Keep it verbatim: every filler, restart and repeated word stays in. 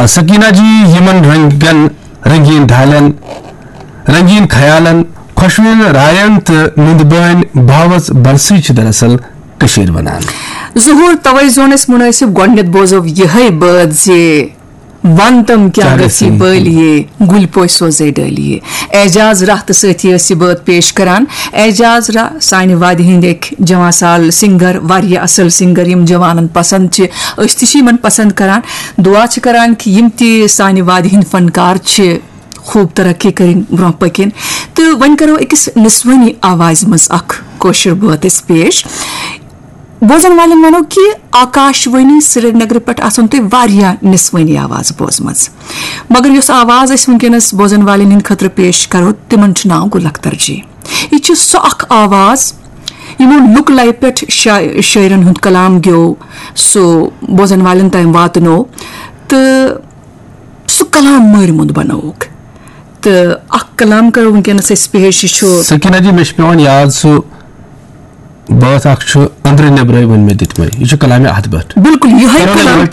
سکینہ جی، یِمن رنگن، رنگین ڈھالن، رنگین خیالن، خۄشوٕنۍ راین تہٕ نُندٕ بٲنۍ باوژ بلسٕے چھِ دراصل کٔشیٖر ونان۔ ظہور، توے زون اسہِ مُنٲسِب گۄڈٕنیتھ بوزو یِہے بٲتھ زِ ون تم کیا کیٛاہ گژھی گژھی؟ بٲلیے، گُلۍ پوش سوزے ڈٲلیے۔ اعجاز راہ تہٕ سٲتھی ٲسۍ یہِ بٲتھ پیش کران۔ اعجاز راہ سانہِ وادِ ہٕنٛدۍ أکۍ جوان سال سنگر، واریاہ اصل سنگر، یِم جوانن پسند چھِ، أسۍ تہِ چھِ یِمن پسند کران۔ دعا چھِ کران کہِ یِم تہِ سانہِ وادِ ہٕنٛدۍ فنکار چھِ، خوب ترقی کٔرِنۍ، برونٛہہ پٔکِنۍ۔ تہٕ وۄنۍ کرو أکِس نسوٲنی آوازِ منٛز اکھ کٲشُر بٲتھ أسۍ پیش۔ بوزن والٮ۪ن ونو کہِ آکاش وانی سرینگرٕ پٮ۪ٹھ آسن تۄہہِ واریاہ نسوٲنی آواز بوزمٕژ، مگر یۄس آواز أسۍ وٕنکیٚنس بوزن والٮ۪ن ہٕنٛدِ خٲطرٕ پیش کرو، تِمن چھُ ناو گُل اختر جی۔ یہِ چھِ سۄ اکھ آواز یِمو لُک لایہِ پٮ۪ٹھ شا-، شٲعرن ہُنٛد کلام گیو، سُہ بوزن والٮ۪ن تام واتنو، تہٕ سُہ کلام مٲرۍ موٚنٛد بنووُکھ۔ تہٕ اکھ کلام کرو وٕنکیٚنس أسۍ پیش، یہِ چھُ سکینہ جی، مےٚ چھُ پٮ۪وان یاد سُہ بٲتھ اکھ چھُ أنٛدرٕ نیٚبرَے وۄنۍ مےٚ دِتمَے، یہِ چھُ کلامِ اَتھ پٮ۪ٹھ۔ بِلکُل یِہوٚے کرو کلام۔ نیٚبرَے